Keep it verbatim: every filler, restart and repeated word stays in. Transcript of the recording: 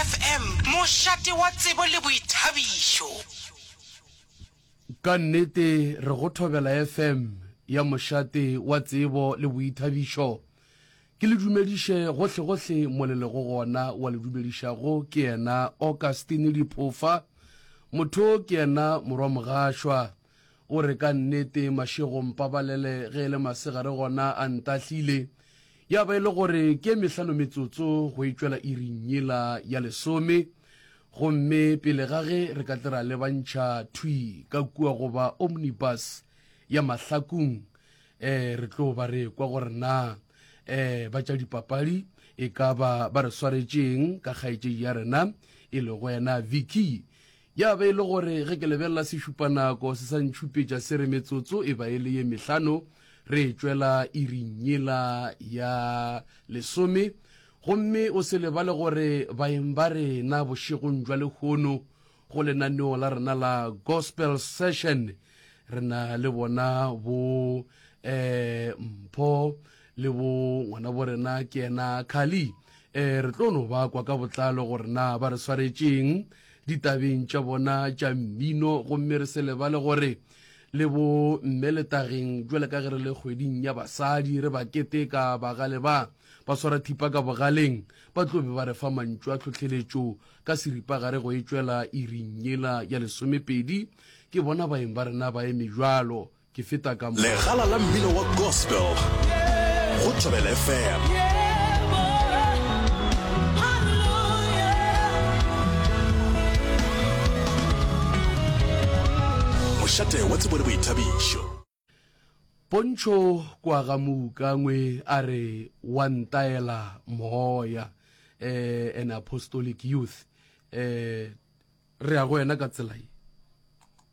F M, mošate wa tsebo le boithabišo. Ka nnete re go Thobela F M ya mošate wa tsebo le boithabišo. Ke le dumediše gohlegohle mo le lego gona. Wa le dumedišago ke yena Augustine Diphofa. Motho ke yena morwa Mogašwa. O re ka nnete mašego mpabalele, ge e le masegare gona a ntahlile. Ya ba e le gore ke mehlano metsotso go e tšwela iring yela ya lesome. Gomme pele ga ge re ka tle ra lebantšha thwi ka kua goba omnibus ya Mahlakung, eh re tlo ba re kwa gore na eh ba tša dipapadi e ka ba ba re swaretšeng ka kgaetšedi ya rena e lego yena Vicky. Ya ba e le gore ge ke lebelela sešupanako se sa ntšhupetša se re metsotso e ba e le ye mehlano re tšwela iring yela ya lesome. Gomme o se lebale gore baeng ba rena bošegong jwa lehono go lenaneo la rena la Gospel Session re na le bona bo eh Mpho le bo ngwana bo rena ke yena Kali. eh re tlo no ba kwa ka botlalo gore na ba re swaretšeng ditabeng tša bona tša mmino. Gomme re se lebale gore le bo mme letageng, jwale ka ge re le kgweding ya basadi re ba keteka, bagale ba ba swara thipa ka bogaleng, ba tlo be ba re fa mantšu a tlhotlheletšo ka seripagare go e tšwela iring yela ya lesomepedi. Ke bona baeng ba rena ba eme jwalo ke feta ka mo. Legala la mmino wa gospel go Thobela F M. Mošate wa tsebo le boithabišo. Pontšho kwa ga Moukangwe a re wa ntaela moya, eh an apostolic youth. eh re ya go wena ka tsela ye.